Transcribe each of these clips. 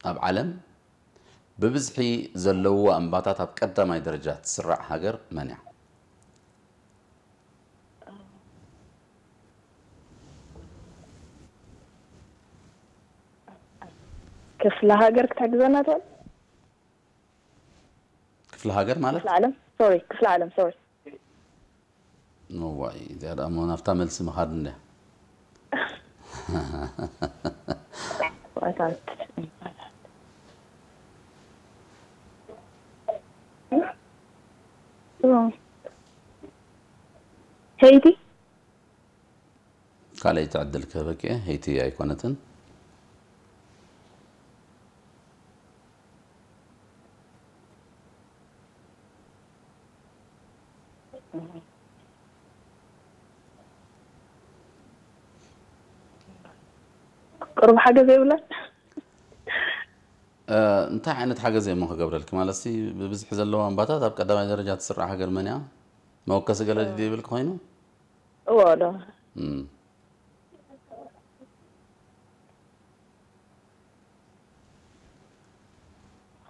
ኣብ ዓለም ብብዝሒ ዘለውዋ እምባታት ኣብ ቀዳማይ ደረጃ ትስራዕ ሃገር መን እያ? ክፍለ ሃገር ክትሕግዘና ትኽእል? ክፍለ ሃገር ማለት? ክፍለ ዓለም፣ ሶሪ፣ ክፍለ ዓለም፣ ሶሪ። እዋይ፣ እዚኣ ደኣ እሞ ናብታ መልሲ ምኻድ እንድያ። ባእታታት። ሄይቲ። ካልኣይቲ ዕድል ክህበኪ እየ። ሄይቲ ኣይኮነትን። ቁሩብ ሓገዝ የብላን። እ፣ እንታይ ዓይነት ሓገዝ እየ እሞ ክገብረልኪ? ማለት ሲ ብብዝሒ ዘለዋ እምባታት ኣብ ቀዳማይ ደረጃ ትስራዕ ሃገር መን እያ? መወከሲ ገለ ድዩ ይብልኪ ኮይኑ? እዎ፣ ዶ። እም።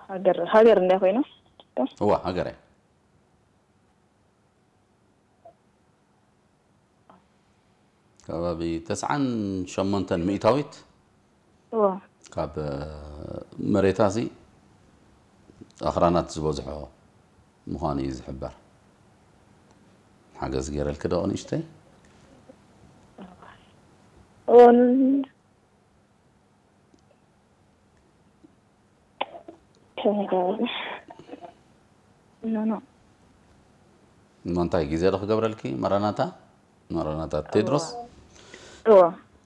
ሃገር፣ ሃገር እንታይ ኮይኑ? እዋ፣ ሃገር እያ። ከባቢ ተስዓን ሸሞንተን ሚእታዊት እዎ። ካብ መሬታ እዚ ኣኽራናት ዝበዝሖ ምዃኑ እዩ ዝሕበር። ሓገዝ ገይረልኪ ዶ ንእሽተይ? እዎ፣ ን-፣ ከመይ ገይረ? ኖ፣ ኖ። እሞ እንታይ ግዜ ዶ ክገብረልኪ? ማራናታ? ማራናታ ቴድሮስ? እዎ።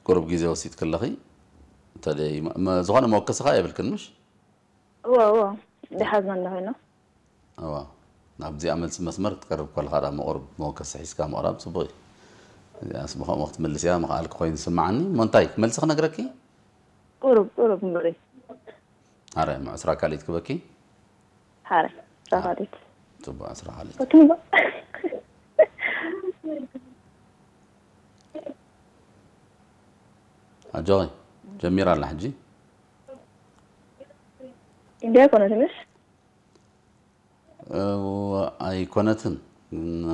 ቁሩብ ግዜ ወሲድኪ ኣለኺ። እንተደይ መ-፣ መ-፣ ዝኾነ መወከሲ ኸኣ የብልክን ምሽ? እዎ፣ እዎ። ደሓዝና እንዳ ኮይና። እዋ። ናብዚኣ መልሲ መስመር ክትቀርብ ከለኻ ደኣ መቑርብ መወከሲ ሒዝካ ምቕራብ ጽቡቕ እዩ። እዚኣስ ብኸምኡ ክትምልስያ ምኽኣልኪ ኮይኑ ዝስምዓኒ። እሞ እንታይ መልሲ ክነግረኪ? ቁሩብ፣ ቁሩብ እምበሪ። ኣረ፣ እሞ ዕስራ ካልኢት ክበኪ? ሓረ፣ ዕስራ ካልኢት። ጽቡቕ፣ ዕስራ ካልኢት። ፈትንጎ። ኣጆኺ፣ ጀሚራ ኣላ ሕጂ። ኢንድያ ኣይኮነትን ምሽ? እወ፣ ኣይኮነትን። እም፣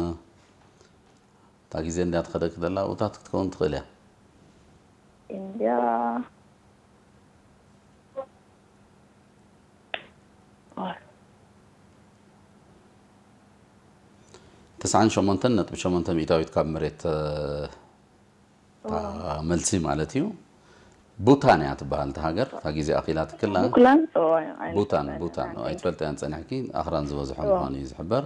እታ ግዜ እንድያ ትኸደኪ ዘላ ኣብኡታት ክትከውን ትኽእል እያ። ኢንድያ። ተስዓን ሸሞንተን ነጥቢ ሸሞንተ ሚእታዊት ካብ መሬት፣ እ፣ እታ መልሲ ማለት እዩ። ቡታን እያ ትበሃል እታ ሃገር። እታ ግዜ ኣኺላ ትክላ። ቡክላን? እዎ፣ ኣይነት ቡታን፣ ኣይነት ቡታን። ኣይነት። ኣይትፈልጥያን ጸኒሕኪ፣ ኣኽራን ዝበዝሖ እዎ። ምዃኑ እዩ ዝሕበር።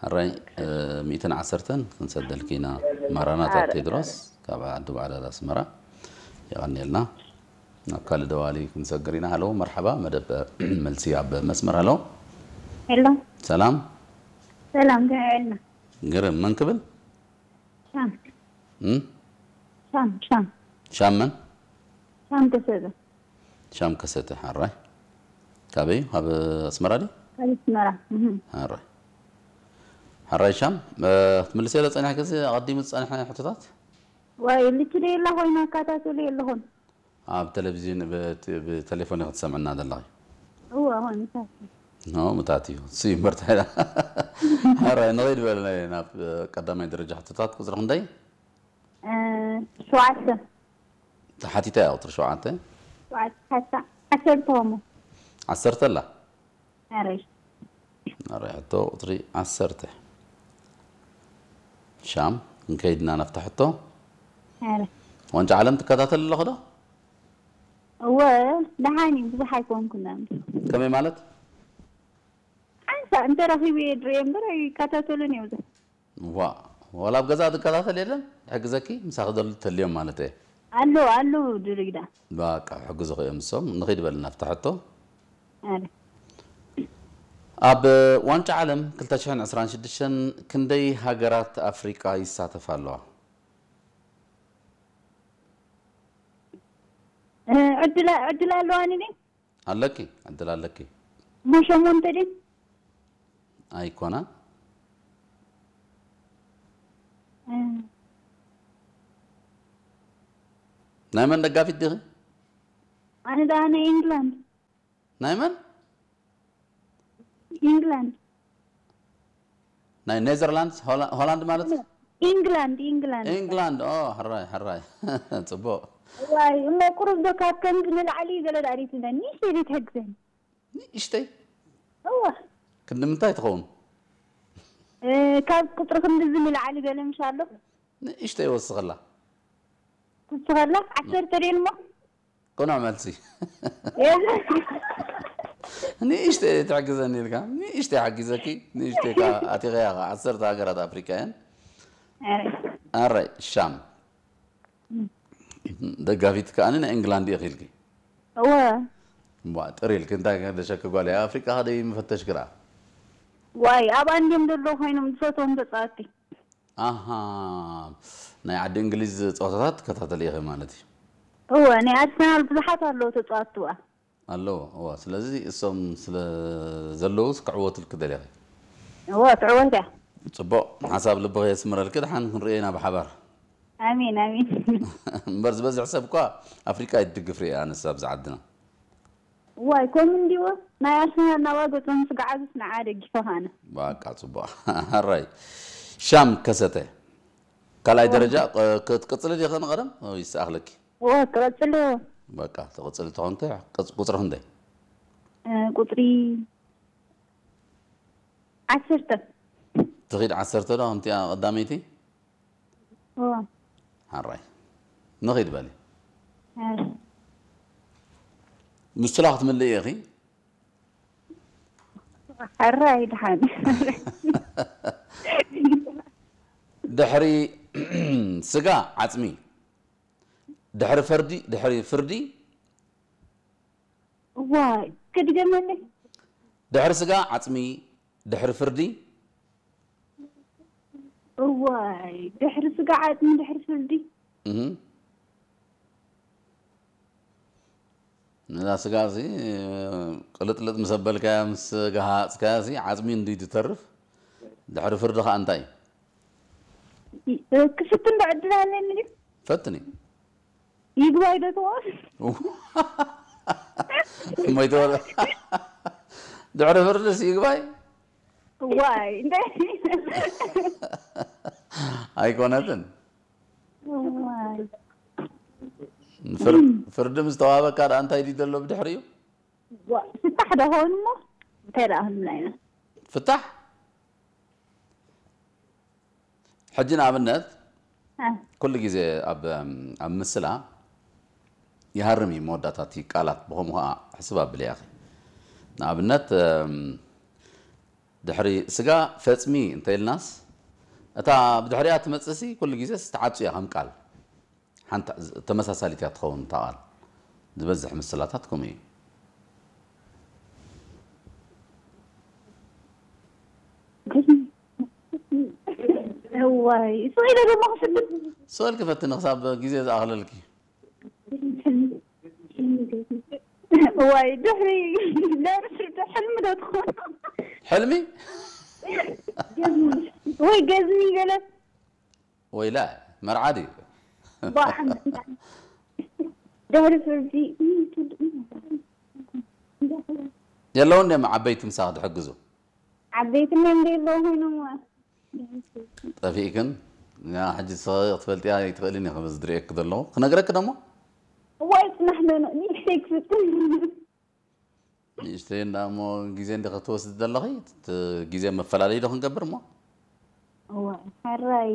ሕራይ፣ እ፣ ሚእትን ዓሰርተን ክንሰደልኪ ኢና። ማራናታ ኣረ፣ ቴድሮስ፣ ካብ ዓዲ ባዕዳድ ኣስመራ። የቐንየልና። ናብ ካልእ ደዋሊ ክንሰግር ኢና። ሃሎ፣ መርሓባ፣ መደብ መልሲ ኣብ መስመር። ሃሎ። ሄሎ፣ ሰላም። ሰላም፣ ከመይ ውዒልና? ግርም፣ መን ክብል? ሻም፣ እም? ሻም፣ ሻም፣ ሻም መን? ሻም ከሰበ። ሻም ከሰተ፣ ሕራይ። ካበይ? ካብ ኣስመራ ድዩ? ካብ ኣስመራ። እህ። ሕራይ። ሕራይ ሻም፣ እ፣ ክትምልስ የለ ጸኒሕኪ እዚ ኣቐዲሙ ዝጸንሐ ሕቶታት? ዋይ፣ ልችደ የላ ኮይና፣ ኣካታተሉ የለኹን። ኣብ ቴሌቪዥን፣ ብ-፣ ብቴሌፎን ኢኺ ትሰምዕና ዘለኺ? እወ፣ ሆን፣ ምሳኪ። ኖ፣ ምታት እዩ። እሱ እዩ እምበር እንታይ ኢላ? ሕራይ፣ ንኸይድ በል ናይ፣ ናብ፣ እ፣ ቀዳማይ ደረጃ ሕቶታት ቁጽሪ ክንደይ? እ፣ ሸውዓተ። ተሓቲተ እያ ቁጽሪ ሸውዓተ። ሸውዓተ፣ ሓሳ-፣ ዓሰርተ ሆሞ። ዓሰርተ ኣላ? ኣረይ። ኣረ፣ ሕቶ ቁጽሪ ዓሰርተ። ሻም፣ ክንከይድና ናብታ ሕቶ። ኣረ። ዋንጫ ዓለም ትከታተል ኣለኹ ዶ? እወ፣ ደሓን እዩ፣ ብዙሕ ኣይኮንኩን። ከመይ ማለት? ሓንሳእ እንተ ረኺቡ እየ ድርእዮ እምበር ኣይከታተሉን እየ ብዙሕ። ዋ፣ ዋላ ኣብ ገዛ ትከታተል የለን? ሕግዘኪ? ምሳኺ ዘሎ ተልዮም ማለት እየ። ኣለዉ፣ ኣለዉ ድርግዳ። በቃ፣ ሕግዙኺ እዮም እሶም። ንኺድ በል ናብታ ሕቶ። ኣረ። ኣብ ዋንጫ ዓለም ክልተ ሽሕን ዕስራን ሽዱሽተን ክንደይ ሃገራት ኣፍሪቃ ይሳተፋ ኣለዋ? እ፣ ዕድል፣ ዕድል ኣለዋኒ ድዩ? ኣለኪ፣ ዕድል ኣለኪ። እሞ ሸሞንተ ድዩ? ኣይኮናን። እ። ናይ መን ደጋፊት ዲኺ? ኣነ ደኣ ናይ ኢንግላንድ። ናይ መን? ኢንግላንድ። ናይ ኔዘርላንድስ፣ ሆላ- ሆላንድ ማለት? ኢንግላንድ፣ ኢንግላንድ። ኢንግላንድ። ኦ፣ ሕራይ፣ ሕራይ። ጽቡቕ። ዋይ፣ እሞ ቁሩብ ዶ ካብ ከምዚ ንላዕሊ ገለ ዳሪትነ? ንእሽተይ ዘይትሕግዘኒ? ንእሽተይ? እዋ። ክንዲ ምንታይ ትኸውን? እ፣ ካብ ቁጽሪ ክንድዚ ንላዕሊ ገለ ምሽ ኣሎ? ንእሽተይ ወስኸላ። ትስኸላ? ዓሰርተ ደን እሞ? ቅኑዕ መልሲ። ንእሽተይ ትሕግዘኒ ኢልካ፣ ንእሽተይ ሓጊዘኪ፣ ንእሽተይ ከኣ ኣቲኸያ ከኣ። ዓሰርተ ሃገራት ኣፍሪቃ እየን። ኣራይ፣ ሻም። ደጋፊት ከኣ ናይ ኢንግላንድ ኢኺ ኢልኪ። እወ። እዋ፣ ጥር ኢልኪ፣ እንታይ ከደሸኪ ጓል እያ? ኣፍሪቃ ከደይ ምፈተሽ ግራ። ዋይ፣ ኣብ ኣንድዮም ዘለዉ ኮይኖም ዝፈትዎም ተጻወትቲ። ኣሃ፣ ናይ ዓዲ እንግሊዝ ጸወታታት ትከታተሊ ኢኺ ማለት እዩ። እወ፣ ናይ ኣርሰናል ብዙሓት ኣለዉ ተጻወትቲ እዋ። ኣለዎ፣ እዋ። ስለዚ እሶም ስለ ዘለዉ ክዕወቱልኪ ደሊኺ። እወ፣ ትዕወት እያ። ጽቡቕ፣ ሓሳብ ልብኺ የስምረልኪ። ደሓን ክንርእየና ብሓባር። ኣሜን፣ ኣሜን። እምበር ዝበዝሕ ሰብ እኳ ኣፍሪቃ ይድግፍ ርእየ ኣነስ ኣብዚ ዓድና። ዋይ፣ ከምኡ እንዲዎ ናይ ኣርሰናል ናባ ገጾም ስጋዓዙስ ንዓ ደጊፈ ኻነ። በቃ ጽቡቕ። ኣራይ። ሻም ከሰተ። ካልኣይ ደረጃ፣ እ፣ ክትቅጽሊ ዲኺ ንቐደም? ወይ ይስኣኽለኪ? እወ፣ ክቐጽል እወ። በቃ፣ ትቕጽሊ ተኾንኪ፣ ቅጽ-፣ ቁጽሪ ክንደይ? እ፣ ቁጽሪ ዓሰርተ። ትኺድ ዓሰርተ ዶ፣ ከምቲኣ ቀዳመይቲ? እወ። ሓራይ። ንኺድ በሊ። ሓራይ። ምስላ ክትምልኢ ኢኺ? ሓራይ ድሓን። ድሕሪ ስጋ ዓጽሚ፣ ድሕሪ ፈርዲ፣ ድሕሪ ፍርዲ። ዋይ፣ ክድገመለይ? ድሕሪ ስጋ ዓጽሚ፣ ድሕሪ ፍርዲ። እዋይ፣ ድሕሪ ስጋ ዓጽሚ፣ ድሕሪ ፍርዲ። እህ። ነዛ ስጋ እዚ ቅልጥልጥ ምስ ኣበልካያ፣ ምስ ገሃጽካያ፣ እዚ ዓጽሚ እንዲ ትተርፍ፣ ድሕሪ ፍርዲ ኸኣ እንታይ እዩ? እ፣ ክፍትን ዶ ዕድል ኣለኒ ድዩ? ፈትኒ። ይግባይ ዶ ትኾን? ሞይተ ወረ-፣ ድሕሪ ፍርድስ ይግባይ? ዋይ፣ እንደ-፣ ኣይኮነትን። ዋይ። ፍር-፣ ፍርዲ ምስ ተዋህበካ ደኣ እንታይ ድዩ ዘሎ ብድሕሪኡ? ዋ-፣ ፍታሕ ዶ ኾን እሞ? እንታይ ደኣ ክንብላ ኢና? ፍታሕ? ሕጂ ንኣብነት፣ እ። ኩሉ ግዜ ኣብ፣ ኣብ ምስላ ይሃርም እዩ መወዳእታ እቲ ቃላት፣ ብኸምኡ ኸዓ ሕስብ ኣብሊ ኢኺ። ንኣብነት፣ እም፣ ድሕሪ ስጋ ፈጽሚ እንተ ኢልናስ፣ እታ ብድሕሪኣ ትመጽእሲ ኩሉ ግዜስ ትዓጹ እያ ከም ቃል። ሓንቲ ተመሳሳሊት እያ ትኸውን እታ ቃል። ዝበዝሕ ምስላታት ከምኡ እዩ። እዋይ፣ ስቕ ኢለ ደሞ ክፍትን። ስቕ ኢልኪ ፈትኒ ክሳብ ግዜ ዝኣኽለልኪ። እዋይ፣ ድሕሪ ደርፊ ሕልሚ ዶ ትኾን? ሕልሚ? ወይ ገዝሚ ገለ። ወይላ፣ መርዓ ድዩ? ባዕም ድሕሪ ፍርዲ የለውን ድዮም ዓበይቲ ምሳኽ ዝሕግዙ? ዓበይትና እንደ የለዉ ኮይኖም ጠፊእክን? ያ ሕጂ ንስኺ ክትፈልጥያ ኣይትኽእልን ኢኺ፣ በዚ ዝርእየኪ ዘለኹ። ክነግረኪ ደሞ? እዋይ፣ ጽናሕ ዶ ነው? ንእሽተይ ክፍትን። ንእሽተይ እንዳ እሞ ግዜ እንዲኺ ክትወስዲ ዘለኺ፣ እቲ ግዜ መፈላለዪ ዶ ክንገብር እሞ? እዋይ፣ ሕራይ።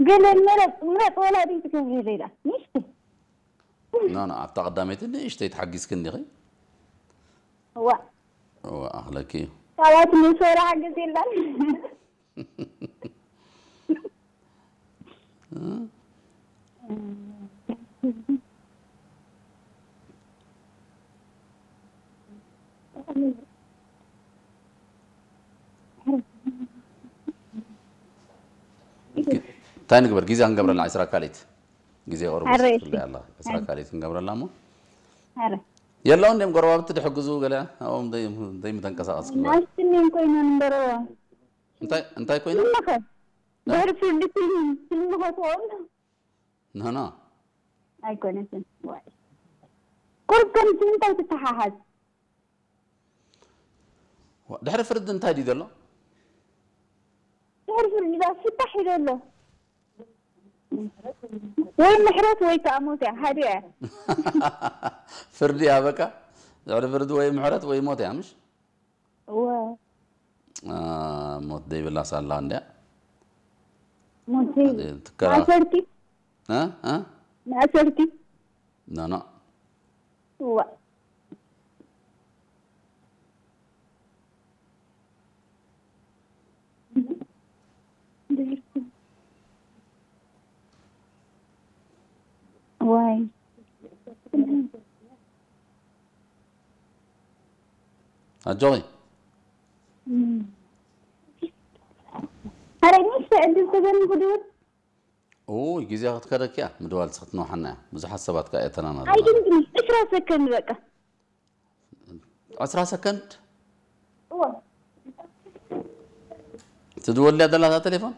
ገለ ምረጽ፣ ምረጽ ወላ ድዩ ትገብሪ ሌላ? ንእሽተይ። ኖ፣ ኖ፣ ኣብታ ቀዳመይቲ ንእሽተይ ተሓጊዝኪ እንዲኺ። እዋ። እዋ፣ ኣኽለኪ እዩ። ካላት ንሶራ ሓገዝ የላን። እንታይ ንግበር? ግዜ ክንገብረላ ዕስራ ካልኢት። ግዜ ቁሩብ ኣረ፣ ወሲድክለይ ኣላ። ዕስራ ካልኢት ክንገብረላ እሞ። ኣረ። የለውን ድዮም ጎረባብቲ ድሕግዙ ገለ ኣብኦም ደይ-፣ ደይምተንቀሳቐስኪ? ናስትኔን ኮይነን እምበረዋ። እንታይ፣ እንታይ ኮይነን? ምኸ? ድሕሪ ፍርዲ ፊልም፣ ፊልም ኸትኦም? ኖ፣ ኖ። ኣይኮነትን። ዋይ። ፍርዲ ከምዚ እንታይ ትተሓሓዝ? ዋ፣ ድሕሪ ፍርዲ እንታይ ድዩ ዘሎ? ድሕሪ ፍርዲ ዳ ፍታሕ እዩ ዘሎ። ወይ ምሕረት ወይ ከዓ ሞት እያ፣ ሓደ እያ። ፍርዲ እያ በቃ። ድሕሪ ፍርዲ ወይ ምሕረት ወይ ሞት እያ፣ ምሽ? እወ። አ፣ ሞት ዘይብላ ሳላ እንድያ። ሞት ትከራ- ማእሰርቲ እ? እ? ማእሰርቲ ኖ፣ ኖ። እዋ። ዋይ። ኣጆኺ። እም። ኣረ፣ ንእሽቶ ዕድል ተገኒኹ ድብል። ኡይ፣ ግዜ ክትከደኪ እያ፣ ምድዋል ክትነውሓና እያ። ብዙሓት ሰባት ከኣ እተናና ኣለዋ። ኣይደንግኒ፣ ዕስራ ሰከንድ በቃ። ዕስራ ሰከንድ እዋ። ትድወልያ ደላታ ቴሌፎን?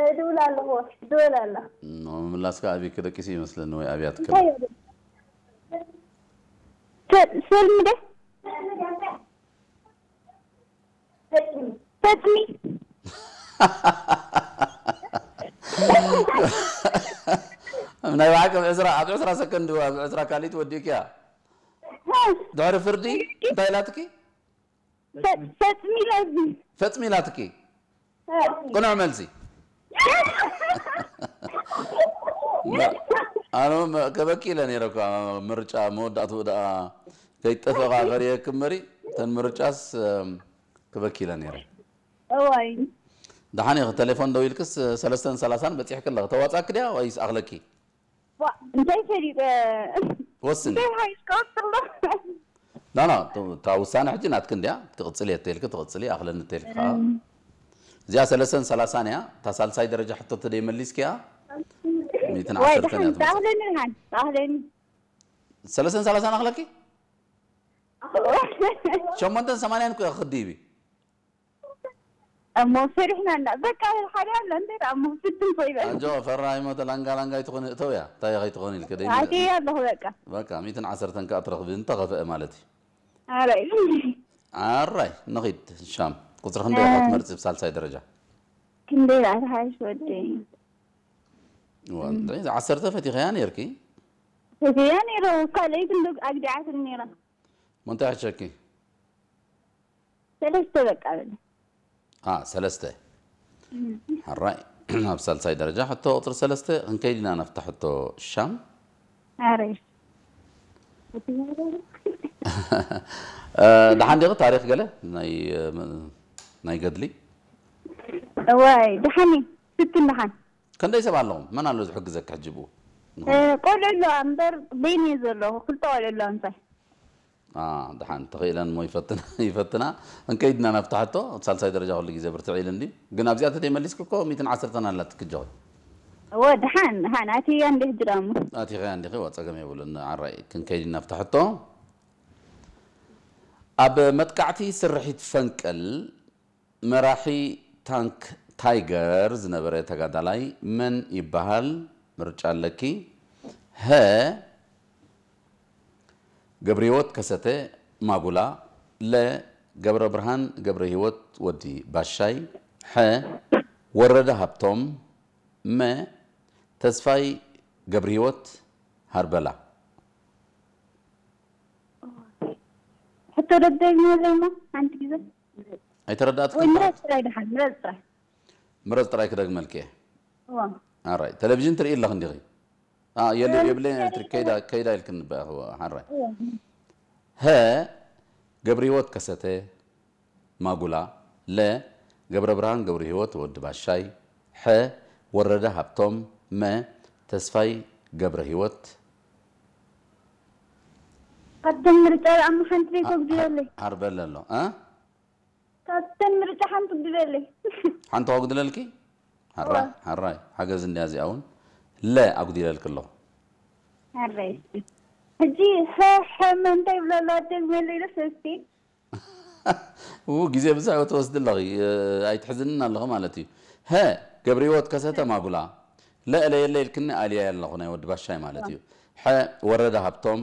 እድውል ኣለኹ፣ እድውል ኣላ። ኖ፣ ምምላስካ ኣብይ ክደቂስ ይመስለኒ ወይ ኣብያ ትከል? እንታይ እዩ? ሰ-፣ ሰልሚ ደ? ፈጽሚ። ናይ ብሓቂ ኣብ ዕስራ፣ ኣብ ዕስራ ሰከንድ፣ ኣብ ዕስራ ካልኢት ወዲእክያ። ድሕሪ ፍርዲ እንታይ ኢላትኪ? ፈ-፣ ፈጽሚ ኢላትኒ። ፈጽሚ ኢላትኪ። ቅኑዕ መልሲ። ኣነ መ-፣ ከበኪ ኢለ ነይረ እኳ፣ ምርጫ መወዳእትኡ ደኣ ከይጠፍእኻ ፈሪየኪ እምበሪ፣ እተን ምርጫስ፣ እም፣ ክበኪ ኢለ ነይረ። እዋይ። ደሓን ኢኺ፣ ቴሌፎን ደው ኢልክስ ሰለስተን ሰላሳን በጺሕኪ ኣለኺ። ተዋጻእኪ ድያ ወይስ ኣኽለኪ? ዋ፣ እንታይ ፈሊጠ? ወስኒ። እንታይ ሓይሽ ቀጽሎ? ላ፣ ላ፣ እታ ውሳነ ሕጂ ናትኪ እንድያ። ትቕጽሊ እየ እተልኪ ትቕጽሊ፣ ኣኽለኒ እተልኪ ከዓ። እዚኣ ሰለስተን ሰላሳን እያ። እታ ሳልሳይ ደረጃ ሕቶ ተደይ መሊስኪያ፣ ሚእትን ወይ፣ ዓሰርተን እያ ደሓን፣ ትመጽእ። ተኣኽለኒ ደሓን፣ ተኣኽለኒ። ሰለስተን ሰላሳን ኣኽለኪ? ሸሞንተን ሰማንያን እኮ ኢኺ ክትድይቢ። እሞ ፈሪሕና እና፣ በቃ፣ ሓደ ኣሎ፣ እንታይ ደኣ፣ እሞ ፍትን ኮይበ። ኣጆ፣ ፈራሂ ሞተ፣ ላንጋ ላንጋ ኣይትኾኒ፣ እተውያ፣ እንታይ ከይትኾኒ ኢልከ፣ ደይ ኣትየ ኣለኹ፣ በቃ። በቃ፣ ሚእትን ዓሰርተን ከኣ ትረኽቢ፣ እንተኸፍአ ማለት እዩ። ኣራይ። ኣራይ፣ ንኺድ፣ ሻም። ቁጽሪ ክንደይ ኢኻ ትመርጺ ብሳልሳይ ደረጃ? ክንደይ ደኣ ትሓይሽ ወደይ? እዋ፣ እንታይ፣ ዓሰርተ ፈቲኸያ ነይርኪ? ፈቲኸያ ነይረ፣ ካልኣይ ክንዶ ኣግዲዓትኒ ነይራ። እሞ እንታይ ሕሸኪ? ሰለስተ በቃ በለ። አ፣ ሰለስተ። እም። ሕራይ፣ ኣብ ሳልሳይ ደረጃ ሕቶ ቁጽሪ ሰለስተ ክንከይድ ኢና ናብታ ሕቶ ሻም። ኣረ። እ፣ ደሓን ዲኺ ታሪኽ ገለ ናይ፣ እ፣ ናይ ገድሊ? እዋይ፣ ደሓን እዩ። ስትን ደሓን። ክንደይ ሰብ ኣለኹም? መን ኣሎ ዝሕግዘኪ ሕጂ ብኡ? እ፣ ቆልዑ ኣለዋ እምበር በይነይ ዘለኹ። ክልተ ቆልዑ ኣለዋ ምሳይ። አ፣ ደሓን ተኽኢለን እሞ ይፈትና፣ ይፈትና። እንከይድና ናብታ ሕቶ፣ ሳልሳይ ደረጃ ኩሉ ግዜ ብርትዕ ኢሉ እንድዩ። ግን ኣብዚኣ ተተይመሊስኪ እኮ ሚእትን ዓሰርተን ኣላትኪ ኣጆኺ። እወ፣ ደሓን፣ ደሓን። ኣትያ እንደ ሕጂ ደኣ እሞ። ኣቲኸያ እንዲኺ፣ ዋ፣ ጸገም የብሉን። ዓራይ፣ ክንከይድ ኢና ናብታ ሕቶ። ኣብ መጥቃዕቲ ስርሒት ፈንቅል መራሒ ታንክ ታይገር ዝነበረ ተጋዳላይ መን ይበሃል? ምርጫ ኣለኪ። ሀ፣ ገብረህይወት ከሰተ ማጉላ፣ ለ፣ ገብረብርሃን ገብረህይወት ወዲ ባሻይ፣ ሐ፣ ወረደ ሃብቶም፣ መ፣ ተስፋይ ገብረህይወት ሃርበላ። ሕቶ ደጋግምለይ እሞ ሓንቲ ግዜ። ኣይተረዳእትክን ወይ ጥራሕ? ምረጽ ጥራይ ደሓን፣ ምረጽ ጥራይ። ምረጽ ጥራይ ክደግመልኪ እየ። እዋ። ኣራይ፣ ቴሌቪዥን ትርኢ ኣለኺ እንዲኺ? አ፣ የለ፣ እዋ፣ የብለይን ትርኢ ኤሌክትሪክ ከይዳ፣ ኣለኹ። ከይዳ ኢልክን በ-፣ እዋ፣ ሓራይ። እዋ። ሀ፣ ገብረህይወት ከሰተ ማጉላ፣ ለ፣ ገብረብርሃን ገብረህይወት ወዲ ባሻይ፣ ሐ፣ ወረደ ሃብቶም፣ መ፣ ተስፋይ ገብረህይወት። ካብቶም ምርጫ ደኣ እሞ ሓንቲ ደይ አ-፣ ተጉድለለይ። ሃ-፣ ሃርበለ ኣሎ፣ እ? ካብተን ምርጫ ሓንቲ ግደለይ። ሓንቲ ከጉድለልኪ? ሓራይ፣ እዋ። ሓራይ። ሓገዝ እንድያ እዚኣ እውን። ለ ኣጉዲለልኪ ኣለኹ። ሓራይ። ሕጂ ሐ፣ ሐ፣ መ እንታይ ይብሎ ኣሎ? ኣደግመለይ ዶ ሰስቲ? ው፣ ግዜ ብዙሕ ትወስዲ ኣለኺ። እ፣ ኣይትሕዝንን ኣለኺ ማለት እዩ። ሀ፣ ገብረህይወት ከሰተ ማጉላ። ለ፣ ለየለ ኢልክኒ ኣልየ ኣለኹ ናይ ወዲ ባሻይ ማለት እዩ። ሐ፣ ወረደ ሃብቶም፣